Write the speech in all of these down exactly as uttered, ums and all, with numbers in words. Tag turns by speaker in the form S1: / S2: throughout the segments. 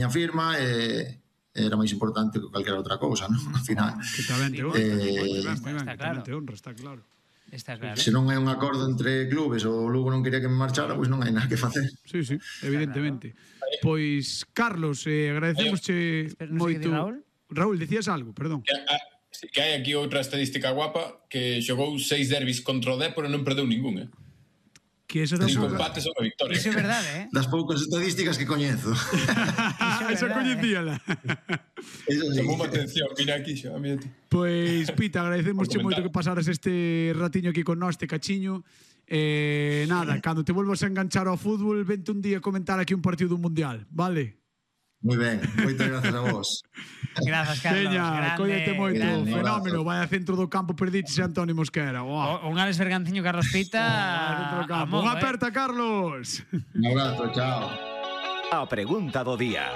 S1: miña firma e era máis importante que calquera outra cousa, non? Al final.
S2: Que tamén te honra, moi ben, moi ben, que tamén te honra, está claro.
S3: Está claro.
S1: Se non é un acordo entre clubes ou o Lugo non quería que me marchara, pois non hai nada que facer.
S2: Sí, sí, evidentemente. Pois, Carlos, eh, agradecemosche moito...
S3: Raúl?
S2: Raúl, decías algo, perdón.
S4: Que, a, que hai aquí outra estadística guapa, que xogou seis derbis contra o Dépor e non perdeu ningún, eh?
S2: Que eso das
S4: Cinco empates ou unha victoria.
S3: Iso é verdade, eh?
S1: Das poucas estadísticas que coñezo.
S2: Esa coñecíala.
S4: Chamou a atención, mira aquí xa, mira ti.
S2: Pois, Pita, agradecemosche moito que pasaras este ratiño aquí con nós, este cachiño. Eh, nada, cando te volvas a enganchar ao fútbol, vente un día a comentar aquí un partido dun mundial, vale?
S1: Moi ben, moitas grazas a vos.
S3: Grazas, Carlos.
S2: Veña, cóllete moito,
S3: grande.
S2: fenómeno. Vai a centro do campo, perdiches a Antonio Mosquera.
S3: O, un Alex Berganciño, Carlos Pita.
S2: Oh, Unha aperta, eh? Carlos.
S1: Un abrazo, chao.
S5: A pregunta do día.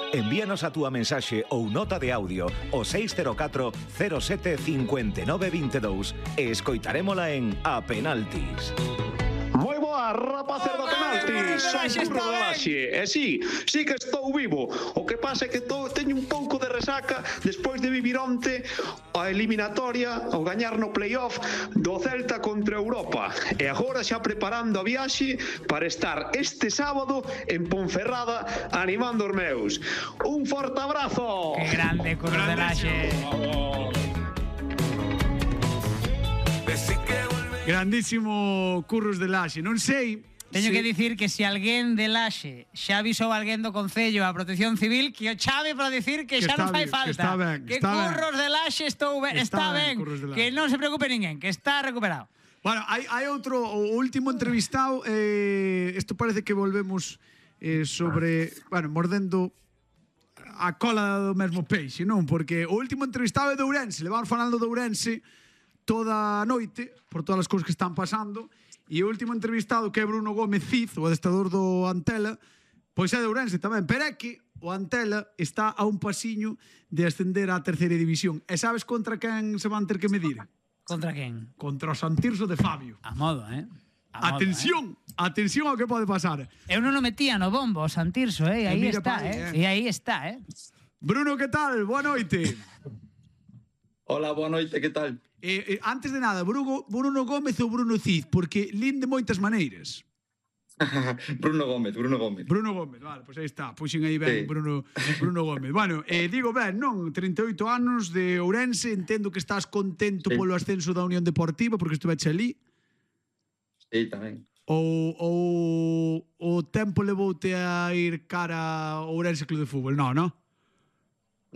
S5: Envíanos a túa mensaxe ou nota de audio o seis cero catro cero sete cinco nove dos dous e escoitarémola en A Penaltis.
S6: Moi boa, rapaces do penalti. Son Curro de Laxe. E si, si que estou vivo. O que pasa é que tô, teño un pouco de resaca despois de vivir onte a eliminatoria, ao gañar no playoff do Celta contra Europa. E agora xa preparando a viaxe para estar este sábado en Ponferrada animando os meus. Un forte abrazo.
S3: Que grande, Curro de Laxe.
S2: Grandísimo Curros de Laxe. Non sei...
S3: Teño
S2: sí.
S3: que dicir que se alguén de Laxe xa avisou alguén do Concello a Protección Civil que o chave para dicir que,
S2: que
S3: xa non fai
S2: bien,
S3: falta.
S2: Que, está ben,
S3: que
S2: está
S3: Curros
S2: ben.
S3: de Laxe estou ben, está, está ben, ben que non se preocupe ninguén, que está recuperado.
S2: Bueno, hai, hai outro, o último entrevistado, eh, isto parece que volvemos eh, sobre, bueno, mordendo a cola do mesmo peixe, non? Porque o último entrevistado é de Ourense, le vamos falando de Ourense toda a noite, por todas as cousas que están pasando, e o último entrevistado, que é Bruno Gómez Cid, o adestrador do Antela, pois é de Ourense tamén, pero é que o Antela está a un pasiño de ascender á terceira división. E sabes contra quen se van ter que medir?
S3: Contra quen?
S2: Contra o Santirso de Fabio.
S3: A modo, eh?
S2: A atención, modo, eh? atención ao que pode pasar.
S3: Eu non o metía no bombo, o Santirso, eh? E aí está,
S2: aí,
S3: eh? E aí está, eh?
S2: Bruno, que tal? Boa noite.
S7: Hola, boa noite, que tal?
S2: Eh, eh, antes de nada, Bruno, Bruno Gómez ou Bruno Cid? Porque lin de moitas maneiras.
S7: Bruno Gómez, Bruno Gómez.
S2: Bruno Gómez, vale, pois pues aí está. Puxen aí ben, sí. Bruno, Bruno Gómez. Bueno, eh, digo ben, non, trinta e oito anos de Ourense, entendo que estás contento sí. polo ascenso da Unión Deportiva, porque estuveche ali.
S7: Sí, tamén.
S2: Ou, ou o tempo levoute a ir cara ao Ourense Club de Fútbol? Non, non?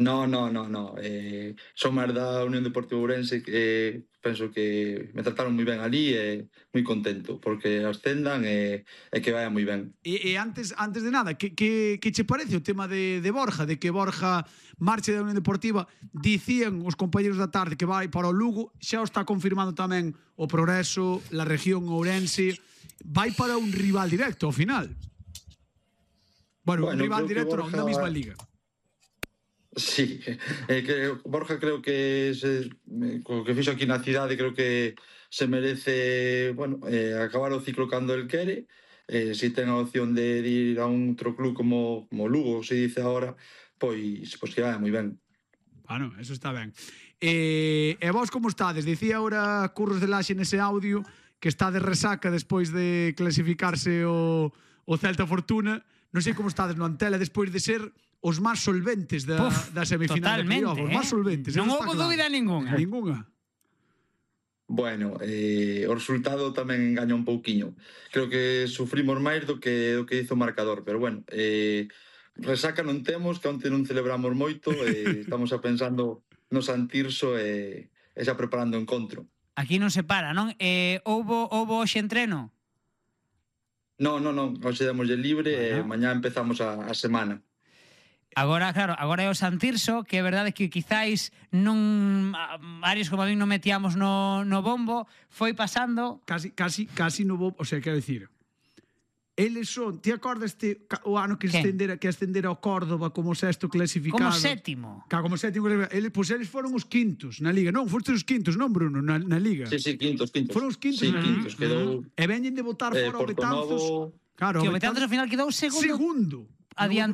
S7: No, no, no, no. Eh, son máis da Unión Deportiva Ourense que eh, penso que me trataron moi ben ali e moi contento porque ascendan e, e que vaya moi ben.
S2: E, e antes antes de nada, que, que, que che parece o tema de, de Borja, de que Borja marche da Unión Deportiva? Dicían os compañeros da tarde que vai para o Lugo, xa o está confirmando tamén o Progreso, la región Ourense, vai para un rival directo ao final. Bueno, bueno un rival directo Borja... non, na mesma liga.
S7: Sí, eh, que Borja creo que se, co que fixo aquí na cidade creo que se merece, bueno, eh, acabar o ciclo cando el quere. Eh, se ten a opción de, de ir a un outro club como, como Lugo, se dice agora, pois, pois que vaya moi ben.
S2: Bueno, eso está ben. Eh, e vos como estades? Dicía ahora Curros de Laxe nese audio que está de resaca despois de clasificarse o, o Celta Fortuna. Non sei como estades no Antela despois de ser os máis solventes da,
S3: Puf,
S2: da semifinal de playoff. Os máis solventes.
S3: Non houve claro. dúbida ninguna.
S2: Ninguna.
S7: Bueno, eh, o resultado tamén engaña un pouquiño. Creo que sufrimos máis do que do que hizo o marcador, pero bueno, eh, resaca non temos, que onte non celebramos moito, eh, estamos a pensando no Santirso e, e xa preparando o encontro.
S3: Aquí non se para, non? Eh, houbo, houbo hoxe entreno?
S7: Non, non, non, hoxe demoslle libre bueno. e mañá empezamos a, a semana.
S3: Agora, claro, agora é o Santirso, que é verdade que quizáis non varios como a mí non metíamos no, no bombo, foi pasando...
S2: Casi, casi, casi no bombo, o sea, quero dicir, eles son, ti acordas este, o ano que ascendera, que ascendera ao Córdoba como sexto clasificado?
S3: Como sétimo.
S2: Ca, como sétimo clasificado. Eles, pois eles foron os quintos na Liga. Non, foste os quintos, non, Bruno, na, na Liga.
S7: Sí, sí, quintos, quintos.
S2: Foron os quintos.
S7: Sí,
S2: na
S7: quintos, quedou...
S2: E veñen de botar
S7: eh,
S2: fora o Betanzos.
S7: Novo...
S2: Claro,
S3: que o Betanzos ao final quedou segundo.
S2: Segundo.
S3: adiantou